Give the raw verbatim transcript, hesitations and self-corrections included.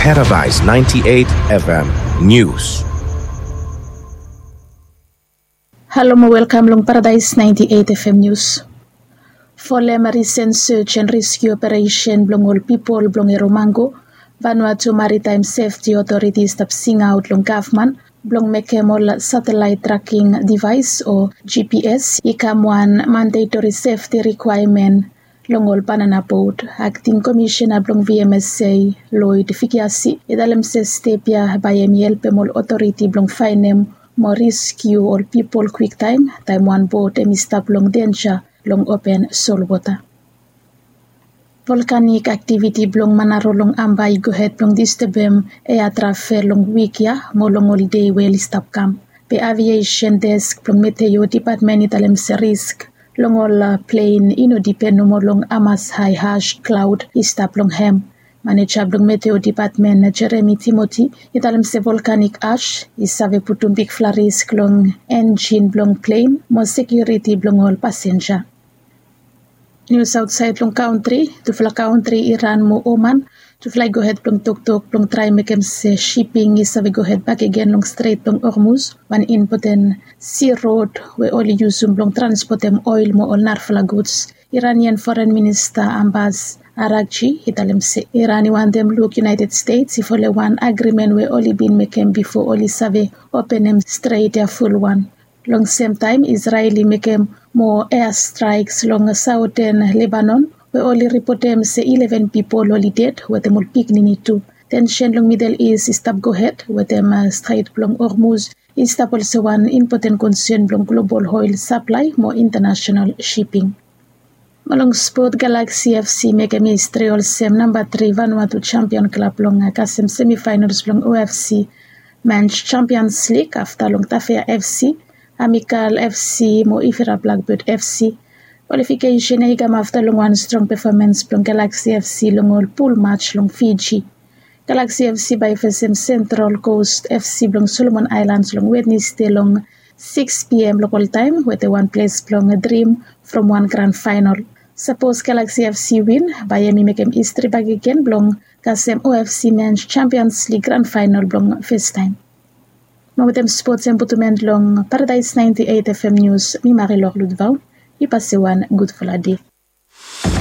Paradise ninety-eight F M News. Halo mo welkam long Paradise ninety-eight F M News. Folem risen search and rescue operation blong ol pipol blong Eromango, Vanuatu Maritime Safety Authority i stap singaot long gavman blong mekem ol satellite tracking device o G P S i kam wan mandatory safety requirement long ol banana boat. Acting Commissioner blong V M S A, Lloyd Fikiasi, i talem se step ya bae hemi helpem ol otoriti blong faenem mo rescue ol pipol kwiktaem, taem wan boat hemi stap long denja long open solwota. Volkanik aktiviti blong Manaro long Amba i gohed blong distebem ea travel long wik ya mo long ol dei we oli stap kam. Be Aviation Desk blong Meteo Dipatmen i talem se risk long ol plen i no dipen nomo long hamas hae ash klaod i stap long hem. Maneja blong Meteo Dipatmen, Jeremy Timothy, i talem se volkanik ash i save putum bigfala risk long enjin blong plen mo sekiuriti blong ol pasenja. Nius aotsaed long kantri. Tufala kantri Iran mo Oman, tufala i gohed blong toktok blong traem mekem se siping i save gohed bakegen long Stret blong Hormuz, wan impoten si rod we oli yusum blong transpotem oel mo ol narafala guds. Iranian Foren Minista Abbas Araghchi i talem se Iran i wantem luk United States i folem wan agrimen we oli bin mekem bifo oli save openem stret ya fulwan. Long semtaem Israel i mekem moa airstrikes long saoten Lebanon we oli ripotem se ileven pipol oli ded wetem ol pikinini tu. Tensen long Middle East i stap gohed wetem Stret blong Hormuz i stap olsem wan impoten konsen blong global oel saplae mo intanasenal siping. Mo long spot, Galaxy F C i mekem histri olsem namba tri Vanuatu champion klab blong kasem semifinals blong O F C Men's Champions League afta long Tafea F C, Amikal F C mo Ifira Blackbird F C. Kwalifikesen ya i kam afta long wan strong pefomans blong Galaxy F C long ol pul mats long Fiji. Galaxy F C bae i fesem Central Coast F C blong Solomon Aelans long Wednesde long sikis P M lokol taem wetem wan ples blong drim from wan gran faenol. Sapos Galaxy F C win, bae hemi mekem histri bakegen blong kasem O F C Men's Champions League gran faenol blong festaem. Mo wetem spots ya mi putum en long Paradise ninety-eight F M News, mi Marilor Ludvau. Yu pasem wan gudfala dei.